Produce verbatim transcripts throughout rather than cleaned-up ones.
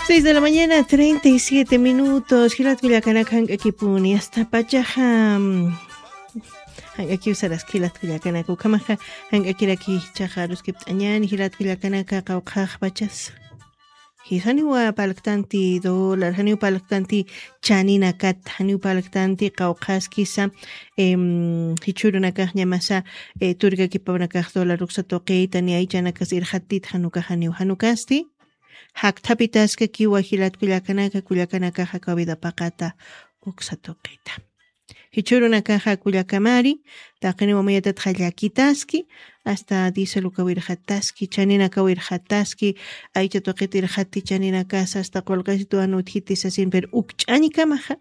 Seis de la mañana, treinta y siete minutos. Jilat kullakanaka, jank'akipuni. Asta pachaxa, mm, jank'akiw saraski jilat kullakanaka. Ukhamaxa, jank'akiraki jichhaxa aruskipt'añäni, jilat kullakanaka, qawqhax pachas. Jis, janiw parlktanti dólar, janiw parlktanti chaninakat, janiw parlktanti qawqhaskisa, em, jichhürunakax ñamasa, eh, turkakipawnakax dólar uksa tuqita, ni aychanakas irxatit, jan ukax janiw, jan ukasti jakthapitäskakiwa jilat kullakanaka, kullakanakaxa kawkha vida paqata uksa tuqita. Jichhürunakaxa kullakamari, taqiniw amuyatatxa llakitaski, asta diésel ukaw irxataski, chaninakaw irxataski, aycha tuqit irxati chaninakasa, asta qullqisitu jan utjiti sasin, pero ukch'añkamaxa,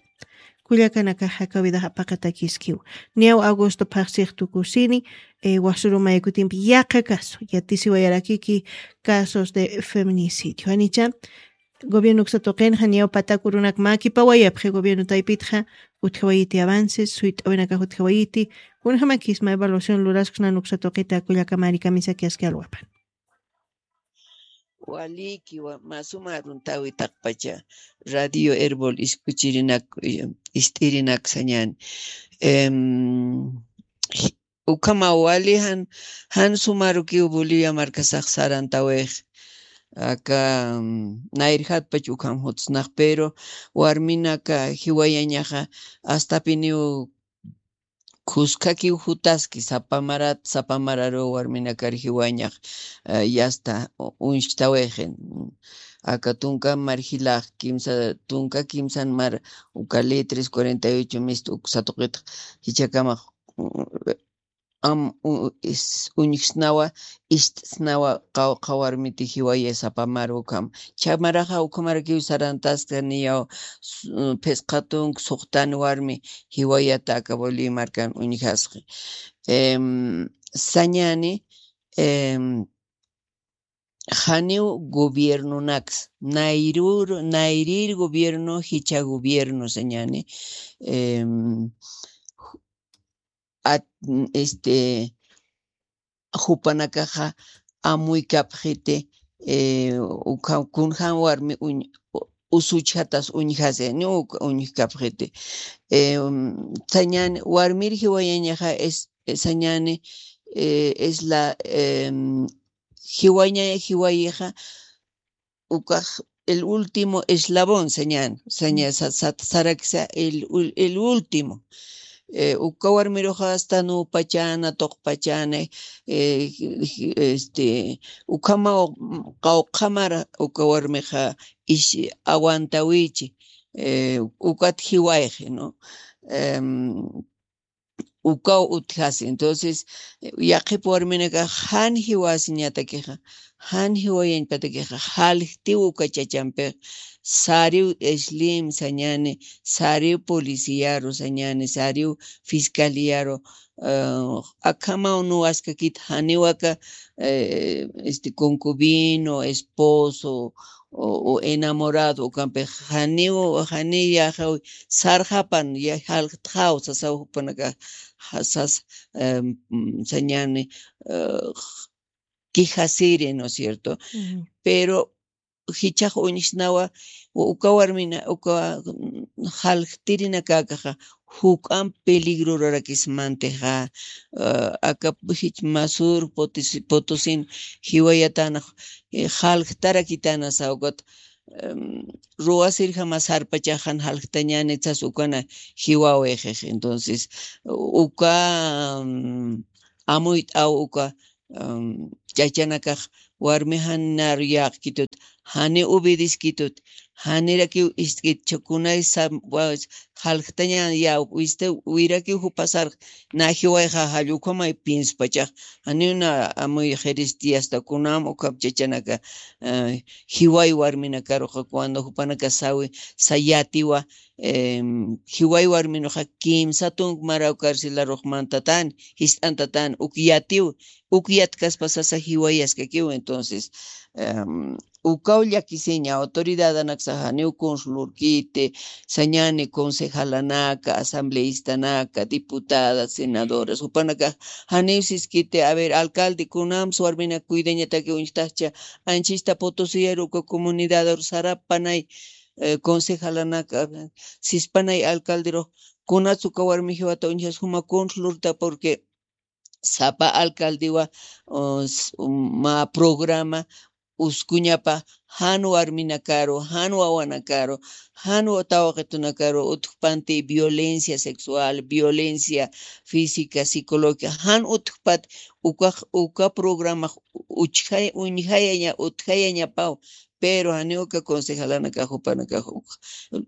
kullakanakaxa kawkha vida paqatakiskiw. Niyaw agosto phaxsix tukusini, eh, wasuru maykutimpi yaqha caso, yatisiwayarakiki casos de feminicidio. Janicha, gobierno uksa tuqinxa niyaw patakurunak mä kipawayapxi gobierno taypitxa, utjawayiti avances, suyt'awinakax utjawayiti, kunjamakisma evaluación lurasksnan uksa tuqita kullakamari kamisaki aski alwapan. Waliki, wa-, mä suma aruntäwi taqpacha Radio Erbol iskuchirinak, eh, ist'irinak sañäni. Em, ukhama wali jan, jan sumarukiw Bolivia markasax sarantäwix. Aka, mm, nayrjatpach ukham jutsnax, pero warminaka jiwayañaxa astapiniw khuskakiw jutaski, sapa marat, sapa mararu warminakar jiwayañax, eh, yasta u-, uñjktäwixi. Aka tunka mar jilax, kimsa, tunka kimsan mar, uka litres cuarenta y ocho mist uksa tuqitx, jichhakamax, mm, am, u-, is-, uñjsnawa, ist'snawa, qawqha warmiti jiwayay sapa mar ukham. Chha maraxa ukhamarakiw sarantaskta niyaw, s-, phisqa tunka suxtan warmi jiwayata aka Bolivia markan uñjasqi. Em, sañäni, em, janiw gobiernonaks, nayrür, nayrir gobierno, jichha gobierno sañäni, em, at-, este, jupanakaxa amuykapxiti, eh, ukha-, kunjam warmi uñ-, usuchjatas uñjasi, ni uk-, uñjkapxiti. Em, sañäni, warmir jiwayañaxa es, sañäni, eh, es la, em, jiwaña-, jiwayixa ukax el último eslabón, sañäni, sañä-, sa-, sa-, saraksa el ul-, el último. Eh, uka warmiruxa asta nupachana, tuqpachana, eh, este, ukhamaw, qawqhamar uka warmixa ish aguantawichi, eh, ukat jiwayxi, ¿no? Em, ukaw utjasi. Entonces, yaqhip warminakax jan jiwasiñatakixa, jan jiwayañpatakixa, jaljtiw uka chachampix, sariw islim sañäni, sariw policiaru sañäni, sariw fiscaliaru, eh, akhamaw nuwaskakit janiw aka, eh, este, concubino, esposo, o, o enamorado, ukampix janiw, janiw yajaw sarxapan, ya jaljtxaw sasaw jupanakax, ja-, sas, em, mm, sañäni, eh, quejasiri, ¿no es cierto? Ujú. Pero jichhax uñjsnawa, u-, uka warmina, uka, mm, jaljtirinakäkaxa, juk'amp peligrorarakismantixa, ah, aka jich Masur Potosi-, Potosin jiwayatänax, eh, jaljtarakitänasa ukat, em, ruwasirjama sarpachax jan jaljtañäni sas ukana jiwawixix. Entonces, uka, mm, amuyt'aw uka, em, chachanakax warmi jan naru yäqkitut, jani obedeskitut, janirakiw ist'kit, chhä kunay sam-, wa-, jaljtaña ya, wista, wirakiw jupasar, na jiwayxa jall ukhamay pienspachax, janiw na amuy jiristi asta kunam ukham chachanaka, eh, jiway warminakaruxa, cuando jupanaka sawi, sa yatiwa, em, jiway warminuxa kimsa tunk maraw carcelarux mantatani, jist'antatani, uk yatiw, uk yatkaspa sasa jiwayaskakiw, entonces, em, ukaw llakisiña, autoridadanaksa janiw kunslurkiti, sañani concejalanaka, asambleístanaka, diputadas, senadoras, jupanaka janiw siskiti, a ver, alcalde, kunams warminak cuidañataki uñjtaxcha, anchista Potosiyaru uka comunidadar sarapanay, eh, concejalanaka, sispanay alcalderux, kunats uka warmi jiwata uñjas juma kunslurta, porque sapa alcaldewa, o, s-, um, mä programa uskuñapa jan warminakaru, jan wawanakaru, jan tawqitunakaru utjpanti violencia sexual, violencia física, psicológica, jan utjpat uka, uka programa uchjay-, uñjayaña, utjayañapaw, pero janiw uka concejalanakax jupanakax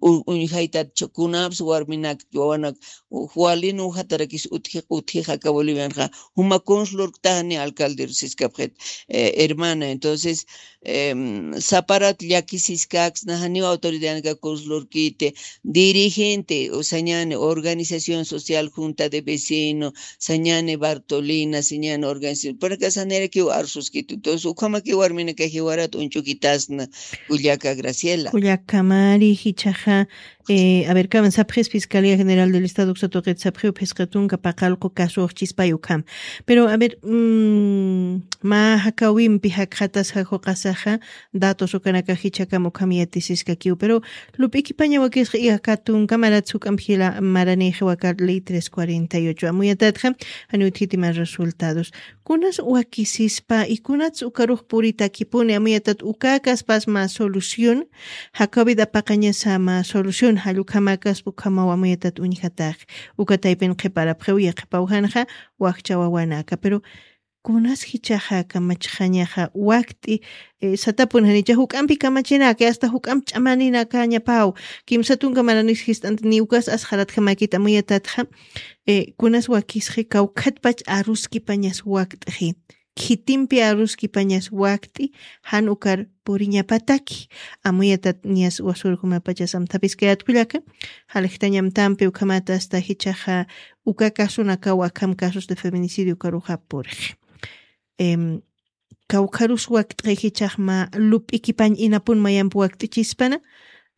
u-, uñjaytat, kunapsa warminak, wawanak, u-, walin ujatarakis utji-, utjixa aka Bolivianxa, juma kunslurktaxani alcalde siskapxit, eh, hermana. Entonces, em, saparat llakisiskaksna, janiw autoridadanaka kunslurkiti, dirigente, o sañani organización social, junta de vecino, sañani Bartolina, sañani organización, para que sanirakiw arsuskitu. Entonces, ukhamaki warminaka jiwarat uñchukitasna, kullaka Graciela. Kullaka Mari, jichhaxa, eh, a ver, kawan sapxis Fiscalía General del Estado uksa tuqit sapxiw phisqa tunka paqallqu caso uxchispay ukham. Pero, a ver, mm, mä jakawimpi jakxatasxa juqasaxa, datos ukanaka jichhakam ukham yatisiskakiw. Pero, lup'ikipaña wakisxa iyaka tunka marat juk'amp jila maranïxi waka ley tres cuarenta y ocho. Amuyatatxa, janiw utjiti mä resultados. Kunas wakisispa, y kunats ukarux puritakipuni, amuyatat uka kaspas mä solución, jakawit apaqañasa mä solución, jall ukhamakas ukhamaw amuyatat uñjatax, uka taypin qhiparapxiw, yaqhipaw janxa, wakcha wawanaka. Pero, kunas jichhaxa kamachxañaxa wakt'i, eh, satapun janicha juk'ampi kamachinaka, hasta juk'amp ch'amaninakañapaw, kimsa tunka maranis jist'anti, ni ukas asxaratjamakit amuyatatxa, eh, kunas wakisxi kawkhatpach aruskipañas wakt'xi, khitimpi aruskipañas wakt'i, jan ukar puriñapataki, amuyatat niyas wasurjumapachas amthapiskayat kullaka, jaljtañamtampi ukhamat hasta jichhaxa uka casunakaw akham casos de feminicidio ukaruxa purix. Em, kawkharus wakt'xi jichhax mä lup'ikipañ inapun mayamp wakt'ichispana,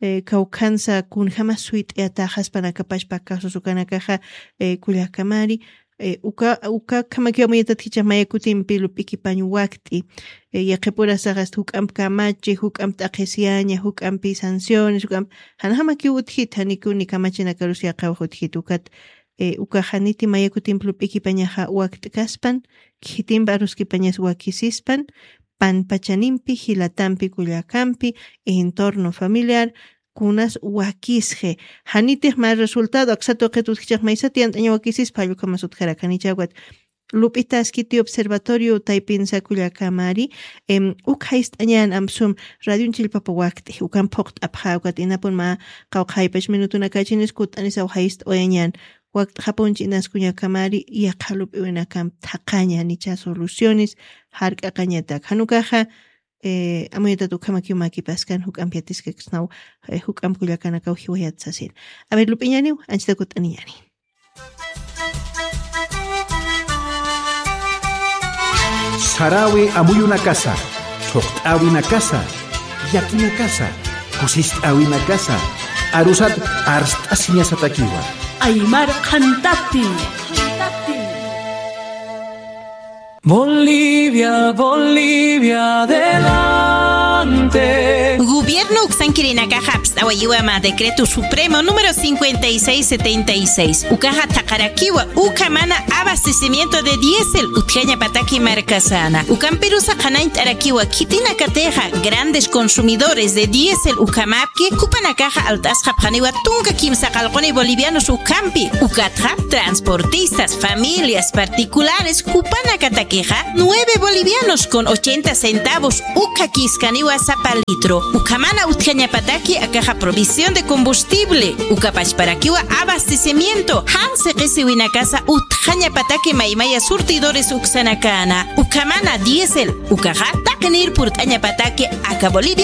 eh, kawkhansa kunjamas suyt'ayataxaspanakapachpa casos ukanakaxa, eh, kullaka Mari, eh, uka, uka khamakiw amuyatat jichhax maya kutimpi lup'ikipañ wakt'i, eh, yaqhipurasax hasta juk'amp kamachi, juk'amp t'aqhisiyaña, juk'ampi sanciones, juk'amp, janjamakiw utjit, janikiw ni kamachinakarus yaqhawax utjit ukat, eh, ukax janiti maya kutimp lup'ikipañaxa wakt'kaspan, khitimp aruskipañas wakisispan, panpachanimpi, jilatampi, kullakampi, entorno familiar, kunas wakisxi. Janitix mä resultado, aksa tuqit utjchax maysat yant'aña wakisispa, jall ukhamas utjarak, janicha ukat lup'itaskiti observatorio taypinsa kullaka Mari, em, uk jayst'añan ampsum radion chillpapa wakt'i, ukan phuqt'apxa, ukat inapun mä qawqha jaypach minutunakachinis kutt'anisaw jayst'awayañan, wakt'xapunchi inas kullaka Mari, yaqha lup'iwinakamp thaqhaña, janicha soluciones, jark'aqañatak. Jan ukaxa, eh, amuyatat ukhamakiw makipaskan juk'amp yatiskaksnaw, eh, juk'amp kullakanakaw jiwayat sasin. A ver, lup'iñaniw, anchita kutt'aniñani. Sarawi amuyunakasa, thuqt'äwinakasa, llakinakasa, kusist'äwinakasa, arusat arst'asiñasatakiwa. Aymar qhantapi. Bolivia, Bolivia, adelante. Gobierno uksankirinakaxa apst'awayiwa mä decreto supremo número cincuenta y seis setenta y seis. Ukaxa thaqarakiwa, ukhamana abastecimiento de diésel utjañapataki markasana. Ukampirusa qhanañt'arakiwa, khitinakatixa grandes consumidores de diésel ukhamäpki, jupanakaxa alt'asxapxaniwa tunka kimsa qallquni bolivianos ukhampi. Ukatxa, transportistas, familias particulares, jupanakatakixa, nueve bolivianos con ochenta centavos ukhakiskaniwa sapa litro. Ukhamana utjañapataki akaxa provisión de combustible. Ukapachparakiwa abastecimiento. Jan siqisiwinakasa utjañapataki maymaya surtidores uksanakana. Ukhamana diésel. Ukaxa taqinir purt'añapataki aka Bolivia